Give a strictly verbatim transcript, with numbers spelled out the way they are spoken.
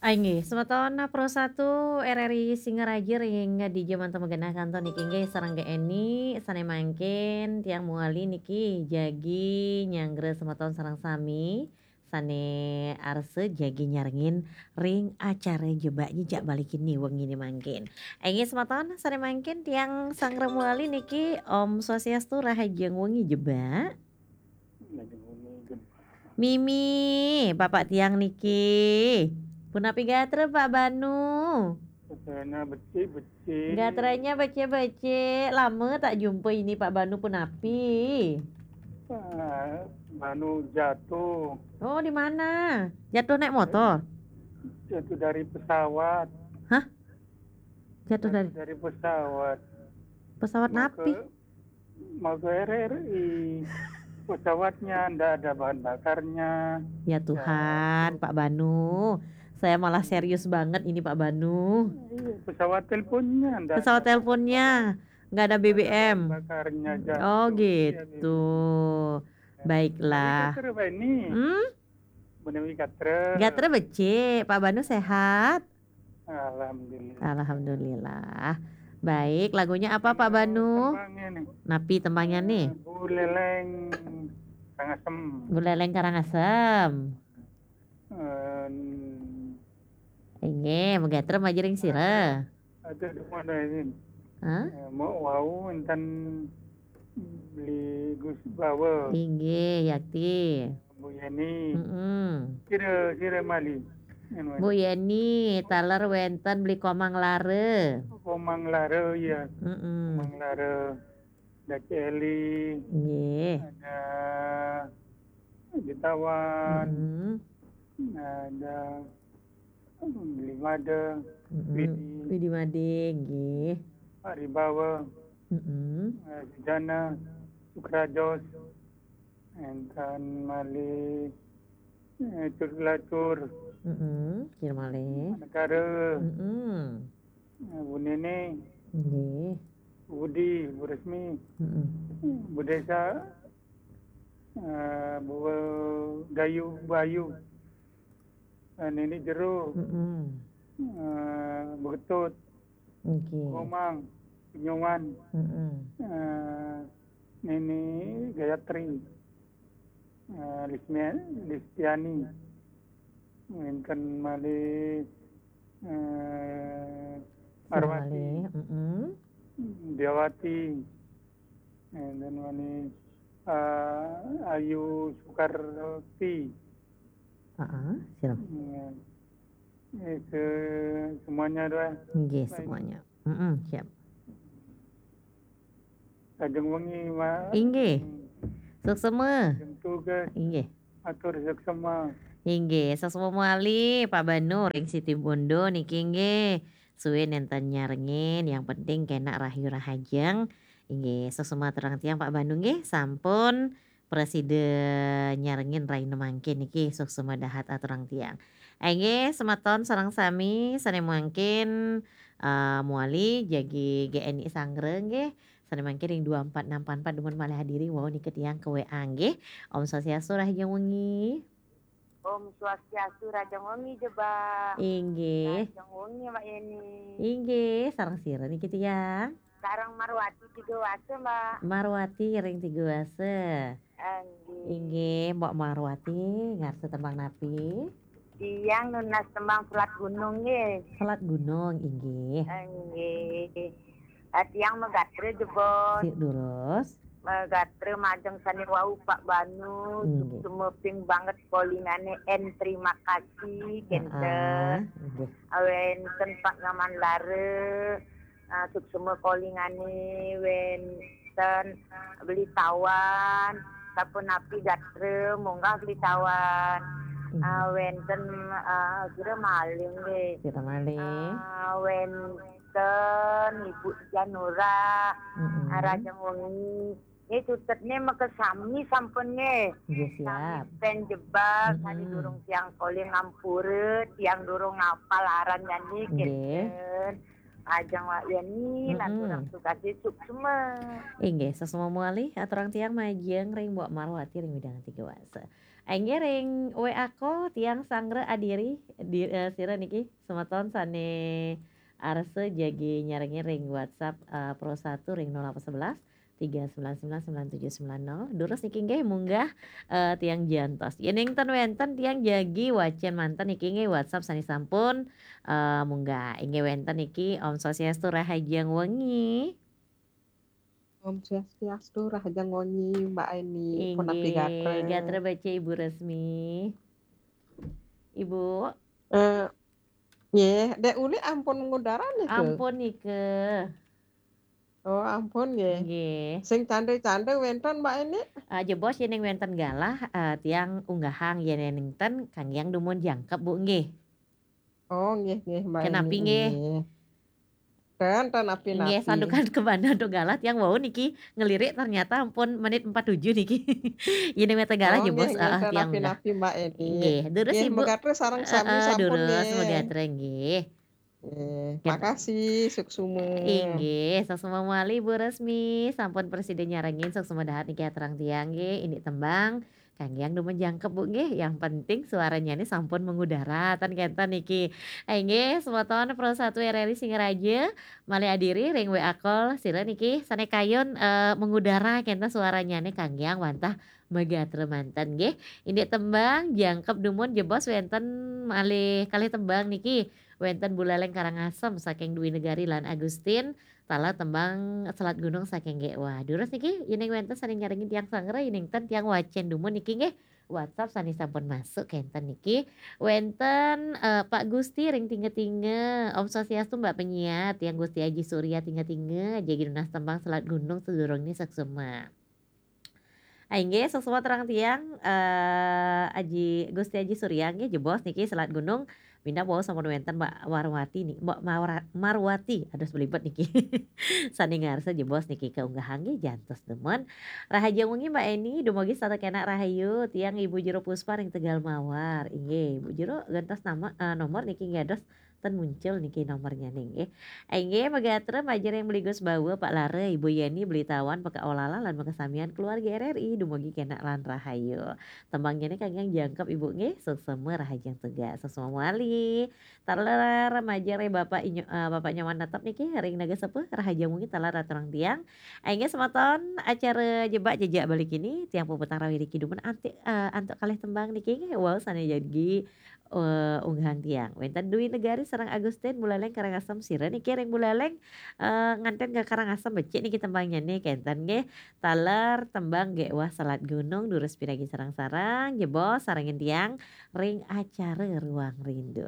Inggih, semeton Pro satu R R I Singaraja ring di jaman temagenah kantos niki inggih sareng Eni, sane mangkin tiang mewali niki jagi nyanggra semeton sareng sami sane arsa jagi nyarengin ring acara Jebak Jejak Balikin ni wengi ni mangkin. Inggih semeton sane mangkin tiang sanggra mewali niki Om Swastiastu, rahajeng wengi Jebak. Mimi, bapak tiang niki. Punapi gatra, Pak Banu? Gatranya becik-becik. Gatranya becik-becik. Lama tak jumpa ini, Pak Banu, punapi? Ah, Banu jatuh. Oh, di mana? Jatuh naik motor? Jatuh dari pesawat. Hah? Jatuh dari Jatuh dari pesawat. Pesawat Mau ke napi? Mau ke R R I. Pesawatnya ndak ada bahan bakarnya. Ya Tuhan, Pak Banu. Saya malah serius banget ini, Pak Banu. Iya, pesawat teleponnya ndak Pesawat ada teleponnya nggak ada bahan B B M. Bakarnya jatuh. Oh, gitu. Ya. Baiklah. Tapi gatra, Pak, ini. Hmm? Menawi gatra. Gatra becik, Pak Banu sehat? Alhamdulillah. Alhamdulillah. Baik, lagunya apa, Pak Banu? Tembangnya nih. Napi tembangnya nih? Eh, Bu Leleng Karangasem. Bu Leleng Karangasem. Eh, Inggih, magatra majeng ring sira. Ada di mana ini? Hah? Eh, mau wau enten beli Gus Bawa. Inggih, yakti. Bu Yani. Mm-mm. Sira, sira mali. Anu, Bu Yani, taler wenten beli Komang Lara. Komang Lara, iya. Mm-mm. Komang Lara. Ada Celi. Nggih. Ada Jutawan. Mm-mm. Ada Beli Made. Mm-mm. Widi. Widi Made, nggih. Pak Ribawa. Mm-mm. Eh, Sujana. Sukrajos. Enten malih, eh, Cut Lacur. Mm-mm, kira malih. Negara. Mm-mm. Eh, Bu Nene. Nggih. Budi, Bu Resmi. Mm-mm. Bu Desa, eh, Bu Gayu, Bu Ayu. Eh, Nini Jero. Mm-mm. Eh, Bu Ketut. Nggih. Komang, Penyuman. Mm-mm. Eh, Nini Gayatri. Eh, Lismia-, Listiani. Wenten malih, eh, Marwati. Malih, mm-mm. Diawati. Wenten malih, eh, Ayu Sukarti. Heeh, sira. Iya. Eh, se-, semuanya doa. Nggih, baik. Semuanya. Mm-mm, siap. Lajeng wengi, Mak. Inggih. Hmm. Suksema. Lajeng tugas. Inggih. Atur suksema. Inggih, suksema malih, Pak Banu ring Siti Bondo niki inggih. Suwe nenten nyarengin, yang penting kenak rahayu rahajeng. Inggih, suksema aturang tiang, Pak Banu nggih, sampun prasida nyarengin rahina mangkin niki, suksema dahat aturang tiang. Inggih, semeton sareng sami sane mangkin, eh, mewali jagi G N I sanggra nggih. Sane mangkin ring dua empat enam empat empat dumun malih hadiri wau nika tiang ke W A nggih. Om Swastiastu, rahajeng wengi. Om Swastiastu, rahajeng wengi, Jebak. Inggih. Rahajeng wengi, Mak Yeni. Inggih, sareng sira niki tiang? Sareng Marwati Tiga Wasa, Mbak. Marwati ring Tiga Wasa. Inggih. Inggih, Mbok Marwati, ngarsa tembang napi? Tiang nunas tembang Selat Gunung, nggih. Selat Gunung, inggih. Inggih. Ah, tiang magatra, Jebak. Sik durus. Magatra majeng sane wau, Pak Banu, inggih. Suksema ping banget kolingane, en terima kasih, heeh, kenten. Inggih. Wenten Pak Nyoman Lara, ah, suksema kolingane, wenten Beli Tawan, sapunapi gatra, munggah Beli Tawan. Inggih. Ah, wenten, ah, sira malih nggih. Sira malih. Ah, wenten Ibu Janura, mm-mm, ah, rahajeng wengi. Nggih, cutetne makasami sampun nggih. Nggih, siap. Sami stand Jebak, mm-mm, sane durung tiang koling ngampura, tiang durung ngapal aran jani, nggih, kenten. Ajeng Wak Yani, mm-mm, lan durung tugas suksema. Inggih, suksema malih, aturang tiang majeng ring Mbok Marwati ring wewidangan Tiga Wasa. Inggih ring W A call tiang sanggra adiri, di, eh, sira niki semeton sane arsa jagi nyarengin ring WhatsApp, eh, Pro satu ring nol delapan sebelas tiga sembilan sembilan sembilan tujuh sembilan nol. Durus niki nggih munggah, eh, tiang jantos. Yening ten wenten tiang jagi wacen manten niki nggih WhatsApp sane sampun, eh, munggah. Inggih wenten niki, Om Swastiastu, rahajeng wengi. Om Swastiastu, rahajeng wengi, Mbak Eni. Punapi gatra? Inggih, gatra becik, Ibu Resmi. Ibu? Eh, nggih, Dek Uli ampun ngudara nika? Ampun nika. Oh, ampun nggih. Nggih. Sing canda-canda wenten, Mbak Eni? Ah, jebos yening wenten galah, ah, tiang unggahang, yening ten kanggiang dumun jangkep, Bu, nggih. Oh, nggih, nggih, Mbak Eni, nggih. Ten, ten napi-napi. Nggih, santukan kemana do galah tiang wau niki ngelirik ternyata ampun menit empat tujuh niki. Yening wenten galah, oh, jebos, nggih, nggih, ah, ten tiang unggah. Napi-napi, Mbak Eni. Nggih, durus, nggih, Ibu. Megatra sareng sami, eh, sampun durus, nggih. Megatra nggih. Nggih, makasih, suksma. Inggih, suksma malih, Bu Resmi, sampun prasida nyarengin, suksma dahat niki aturang tiang nggih, indik tembang kanggiang dumun jangkep, Bu, nggih. Yang penting suaranyane sampun mengudara, ten kenten niki. Inggih, semeton Pro satu R R I Singaraja, malih adiri ring W A call, sira niki sane kayun, eh, mengudara kenten suaranyane kanggiang wantah megatra manten, nggih. Indik tembang jangkep dumun, jebos wenten malih kalih tembang niki. Wenten Buleleng Karangasem saking Dwi Negari lan Agustin, taler tembang Selat Gunung saking Gek Wah. Durus niki, yening wenten sane nyarengin tiang sanggra, yening ten tiang wacen dumun niki nggih. WhatsApp sane sampun masuk kenten niki. Wenten, eh, Pak Gusti ring Tinga-tinga. Om Swastiastu, Mbak penyiar, tiang Gusti Aji Surya Tinga-tinga, jagi nunas tembang Selat Gunung sadurungne, suksma. Ah, inggih, suksma aturang tiang, eh, Aji, Gusti Aji Surya nggih, jebos niki Selat Gunung, minab wau sampun wenten Mbak Warwati ni-, Mbak Mawra-, Marwati, aduh belibet niki. Sane ngarsa jebos niki kaunggahang nggih, jantos dumun. Rahajeng wengi, Mbak Eni, dumugi setata kenak rahayu, tiang Ibu Jero Puspa ring Tegal Mawar. Inggih, Ibu Jero, gantos nama, eh, nomor niki nggih dados ten muncul niki nomornyane nggih. Inggih, megatra majeng ring Beli Gus Bawa, Pak Lara, Ibu Yeni, Beli Tawan, Peka Olala, lan makasamian keluarga R R I, dumugi kenak lan rahayu. Tembangnyane kanggiang jangkep, Ibu, nggih. Suksma, rahajeng tugas. Suksma malih. Taler majeng ring Bapak Inyo-, eh, Bapak Nyoman Netep niki ring Naga Sepuh, rahajeng wengi taler aturang tiang. Inggih, semeton, acara Jebak Jejak Bali kini tiang puputang raos iriki dumun anti-, eh, antuk kalih tembang niki nggih. Wau sane jagi, eh, unggahang tiang. Wenten Dwi Negari sareng Agustin, Buleleng Karangasem, sira niki ring Buleleng, eh, nganten ka Karangasem, becik niki tembangnyane kenten nggih. Taler tembang Gek Wah Selat Gunung, durus pinagi sareng-sareng, jebos sarengin tiang ring acara Ruang Rindu.